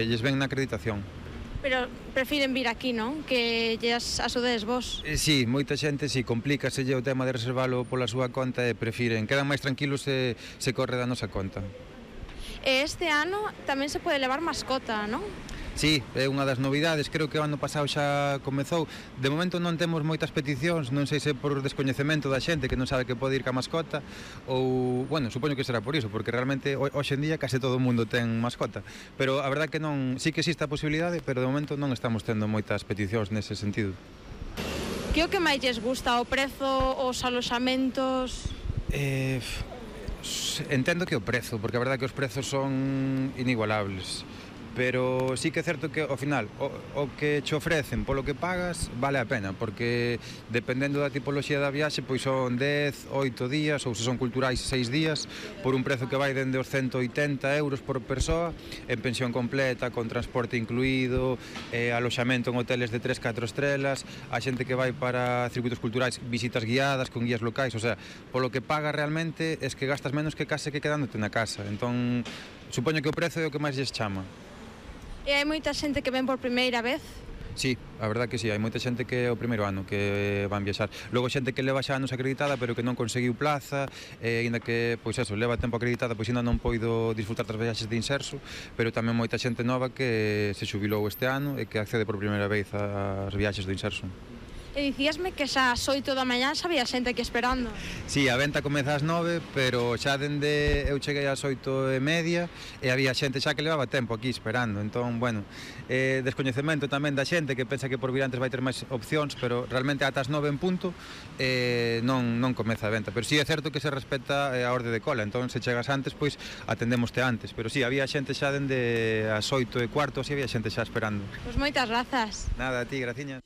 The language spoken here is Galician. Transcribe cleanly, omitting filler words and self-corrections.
Lles ven na acreditación. Pero prefiren vir aquí, non? Que lles axudedes vos. Sí, moita xente si complícaselle o tema de reservalo pola súa conta e prefiren, quedan máis tranquilos se corre da nosa conta. E este ano tamén se pode levar mascota, non? Sí, é unha das novidades, creo que o ano pasado xa comezou. De momento non temos moitas peticións, non sei se por descoñecemento da xente que non sabe que pode ir ca mascota ou, bueno, supoño que será por iso, porque realmente hoxe en día case todo o mundo ten mascota. Pero a verdade que non, sí que existe a posibilidade, pero de momento non estamos tendo moitas peticións nese sentido. Que o que máis lles gusta? O prezo, os aloxamentos? Entendo que o prezo, porque a verdade que os prezos son inigualables. Pero sí que é certo que ao final o que che ofrecen polo que pagas vale a pena, porque dependendo da tipoloxía da viaxe pois son 10, 8 días ou se son culturais 6 días por un prezo que vai dende os 180 euros por persoa en pensión completa, con transporte incluído, aloxamento en hoteles de 3-4 estrelas, a xente que vai para circuitos culturais, visitas guiadas con guías locais, o sea, polo que pagas realmente es que gastas menos que case que quedándote na casa, entón supoño que o prezo é o que máis lles chama. E hai moita xente que ven por primeira vez? Sí, a verdad que sí, hai moita xente que é o primeiro ano que van viaxar. Logo xente que leva xa anos acreditada pero que non conseguiu plaza, aínda que, pois eso, leva tempo acreditada, pois ainda non poido disfrutar das viaxes de inserso, pero tamén moita xente nova que se xubilou este ano e que accede por primeira vez ás viaxes do inserso. E dicíasme que xa ás 8 da mañá xa había xente aquí esperando. Sí, a venta comeza ás 9, pero xa dende eu cheguei ás 8:30 e había xente xa que levaba tempo aquí esperando. Entón, bueno, descoñecemento tamén da xente que pensa que por vir antes vai ter máis opcións, pero realmente ata as 9 en punto non comeza a venta. Pero sí é certo que se respeta a orde de cola, entón se chegas antes, pois atendemoste antes. Pero sí, había xente xa dende as 8:15, así había xente xa esperando. Pois moitas grazas. Nada, a ti, graciñas.